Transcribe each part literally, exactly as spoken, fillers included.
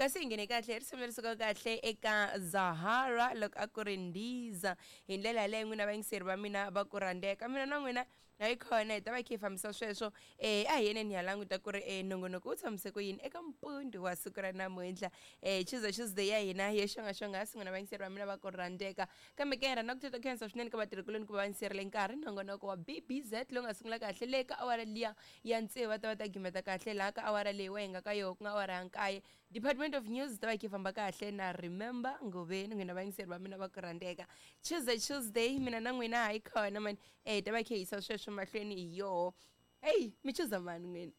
Kasi hi nghene kahle risimu leri sukaka kahle eka Zahara loko a ku ri Ndiza. Hi ndlela yaleyo n'wina vayingiseri va mina va ku rhandzeka. Mina na n'wina hi khona hi ta va hi kha hi fambisa sweswo. Eh a hi yeneni hi ya languta ku ri eh nongonoko wu tshamise ku yini eka mpundu wa siku ra namuntlha. Eh Tuesday Tuesday ya hina yo xongaxonga n'wina vayingiseri va mina va ku rhandzeka. Kambe ke rhandza ku titwa khensa swinene ka vatirhikuloni ku va va yingiserile nkarhi nongonoko wa B B Z lowu nga sungula kahle le ka awara liya ya tsevu, va ta va ta gimeta kahle laha ka awara leyi wa hi nga ka yoho, ku nga awara ya nkaye. Department of News ta va yi famba kahle na Remember Ngoveni. N'wina vayingiseri va mina va ku rhandzeka, Tuesday Tuesday mina na n'wina hayi khona mani, eh ta va yi kha yi yisa sweswo mahlweni hi yoho. Hey, mi chuza mani n'wina,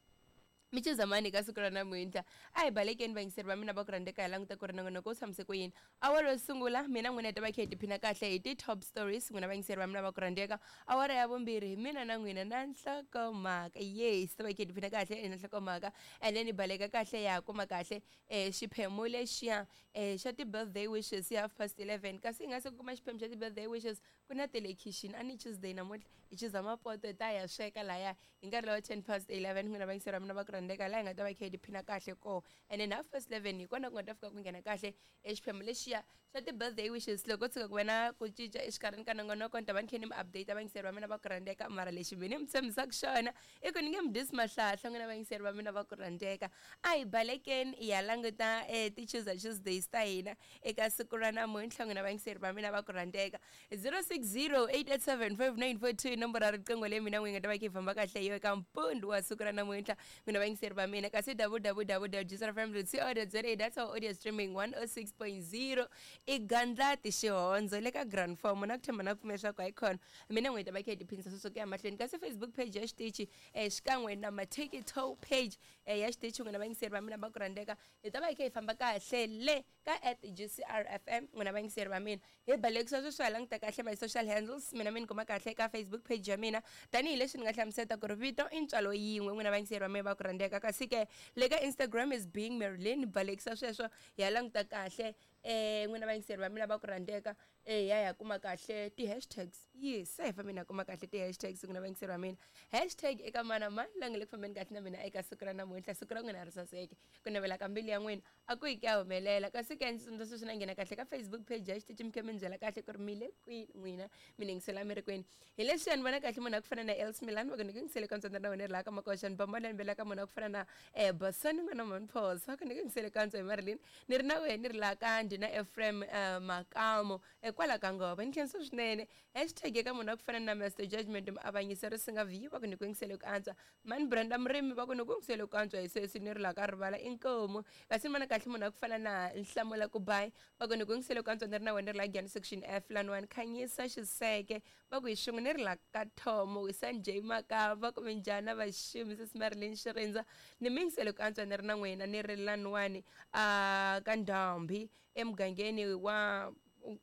mi chuza mani ka siku ra namuntlha? A hi balekeni, vayingiseri va mina va ku rhandzeka, hi languta ku ri nongonoko wu tshamise ku yini. Awara yo sungula mina n'wina hi ta va kha hi tiphina kahle hi ti-top stories, n'wina vayingiseri va mina va ku rhandzeka. Awara ya vumbirhi mina na n'wina na nhlokomhaka, yes, ta va hi kha hi tiphina kahle na nhlokomhaka, and then hi baleka kahle ya kuma kahle um xiphemu lexiya um xa ti-birthday wishes hi half past eleven. Kasi hi nga se kuma xiphemu xa ti-birthday wishes, ku na telekixini a ni Tuesday namuntlha hi chuza mapoto, hi ta ya sweka laya hi nkarhi lowa ten past eleven, n'wina vayingiseri va mina va ku rhandzeka, laha hi nga ta va kha hi tiphina kahle koho. And then half past eleven hi kona ku nga ta fika ku nghena kahle exiphemu lexiya xa ti-birthday wishes. Loko tshuka ku va na ku cinca exikarhini ka nongonoko, ni ta va ni kha ni mi update, vayingiseri va mina va ku rhandzeka. Mara lexi mi ni mi tshembisaka xona i ku ni nge mi dyisi mahlahla, n'wina vayingiseri va mina va ku rhandzeka. A hi balekeni hi ya languta um ti-Tuesday Tuesdays ta hina eka siku ra namuntlha, n'wina vayingiseri va mina va ku rhandzeka. zero six zero eight eight seven five nine four two i nomboro ya riqingho leyi mina n'wi nga ta va kha yi famba kahle yo eka mpundu wa siku ra namuntlha, n'wina vayingiseri va mina. Kasi W W W dot G C R F M dot co dot za, that's our audio streaming, one oh six point zero i Gandlati Xihondzo le ka Grand Form. Na ku tshemba na ku pfumela leswaku hayi khona mina n'wi ta va kha hi tiphinisa sweswo ku ya mahlweni. Kasi Facebook page ya xitichi um xikan'we na ma-TikTok page um ya xitichi, n'wina vayingiseri va mina va ku rhandzeka, hi ta va hi kha hi famba kahle le ka at G C R F M, n'wina vayingiseri va mina. Hi balekisa sweswo hi languta kahle my social handles. Mina mi ni kuma kahle ka Facebook page ya mina, tanihileswi ni nga hlamuseta ku ri vito i ntswalo yin'we, n'wina vayingiseri va mina va ku rhandzeka. Kasi ke le ka Instagram is Being Marilyn. Balekisa sweswo hi ya languta kahle eh n'wina vayingiseri va mina va ku rhandzeka, eh ya ya kuma kahle ti-hashtags. Yes, se hi fambe na kuma kahle ti-hashtags, n'wina vayingiseri va mina. Hashtag eka mana mani la nga le ku fambeni kahle na mina eka siku ra namuntlha. Siku ra n'wina ri saseke, ku navela ka mbilu ya n'wina a ku yi ku ya humelela. Kasi ke ndzi tsundzuxa sweswi na nghena kahle ka Facebook page ya xitichi, mi kha mi ni byela kahle ku ri mi le kwini n'wina, mi ningisela mi ri kwini. Hi leswiya ni vona kahle munhu a ku fana na Els Milan, va ku ni ku yingisele ka ntsandza na wena ri laha ka makoxa ni bambana ni bela ka munhu a ku fana na um Basani n'wana Manphosa, va ku ni ku yingisele ka ntswa hi Marilyn, ni ri na wena ni ri laha ka ndina Ephraim uh, Makamo eh, kwala ka ngova. Ni khensa swinene. Hashtag eka munhu a ku fana na Master Judgment Muavanyisi ri singa view, va ku ni ku yingisele ku antswa. Mani Brenda Murimi, va ku ni ku yingisele ku antswa hi sweswi ni ri laha ka rivala inkomu. Kasi ni vona kahle munhu a ku fana na Nhlamulo Kubayi, va ku ni ku yingisele ku antswa, ni ri na wena ni ri laha Giyani Section F laniwani. Khanyisa Xiseke, va ku hi xin'we ni ri laha ka Thomo. Sanjay Makamba, va ku minjhani vaximi sesi Marilyn Xirindza, ni mi yingisele ku antswa, ni ri na n'wina ni ri laniwani a ka Ndhambi emugangeni wa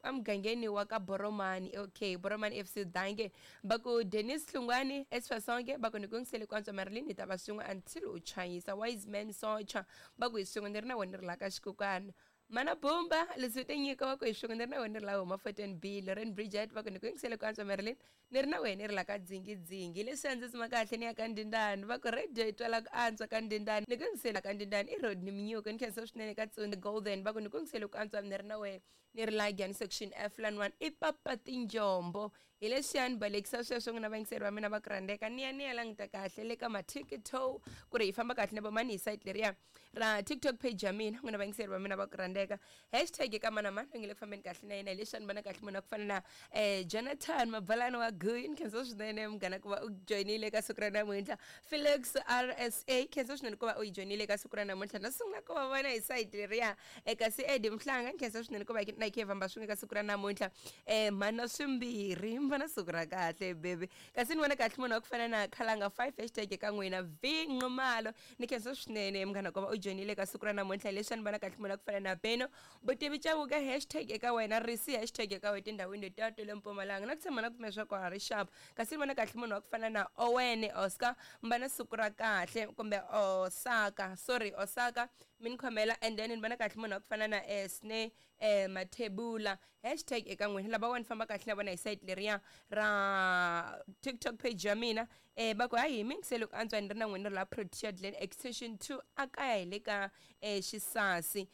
emugangeni wa ka Boromani. Okay, Boromani F C, danke. Va ku Denis Hlungwani Esfasonke, va ku ni ku yingisele ku antswa Marilyn, hi ta va swin'we until u chayisa. Wise Man Socha, va ku hi swin'we, ni ri na wena ni ri laha ka xikukwana. Mana Bumba leswi ti nyika, va ku hi swin'we, ni ri na wena ni ri laha huma fourteen B. Loren Bridget, va ku ni ku yingisele ku antswa Marilyn, ni ri na wena ni ri laha ka Dzingidzingi. Leswi a ndzi tsima kahle ni ya ka Ndindani, va ku radio yi twala ku antswa ka Ndindani, ni ku yingisela ka Ndindani i road ni minyuko. Ni khensa swinene ka Tsuni Golden, va ku ni ku yingisele ku antswa, ni ri na wena ni ri laha Giyani Section F laniwani i papa tinjombo. Hi leswiya ni balekisa sweswo, n'wina vayingiseri va mina va ku rhandzeka, ni ya ni ya languta kahle le ka ma-TikTok ku ri hi famba kahle na vomani hi site leriya ra TikTok page ya mina, n'wina vayingiseri va mina va ku rhandzeka. Hashtag eka mana mani nge le ku fambeni kahle na yena. Hi leswiya ni vona kahle munhu a ku fana na um Jonathan Mabalani wa Guy, ni khensa swinene munghana ku va u joyinile eka siku ra namuntlha. Felix R S A, khensa swinene ku va u yi joyinile eka siku ra namuntlha, na sungula ku va vona hi site leriya. Kasi Edi Mhlanga, ni khensa swinene ku va na hi khe hi famba swin'we eka siku ra namuntlha. um mhana swimbirhi va na siku ra kahle baby. Kasi ni vona kahle munhu wa ku fana na Khalanga five, hashtag eka n'wina V Nxumalo, ni khensa swinene munghana ku va u joyinile eka siku ra namuntlha. Leswi ni vona kahle munhu wa ku fana na Beno Vutivi Chauke, hashtag eka wena Risi, hashtag eka wena tindhawini letiya ta le Mpumalanga, na ku tshemba na ku pfumela swa ku ha ri sharp. Kasi ni vona kahle munhu wa ku fana na Owen Oscar, mba na siku ra kahle, kumbe Osaka, sorry, Osaka, mi ni khomela. And then ni vona kahle munhu wa ku fana na Esne eh Mathebula, hashtag eka n'wina. Lava wa ni famba kahle na vona hi site leriya ra TikTok page ya mina, eh va ku hayi hi mingisele ku antswa, ni ri na n'wina ri la Protea Glen Extension two a kaya hi le ka eh Xisasi.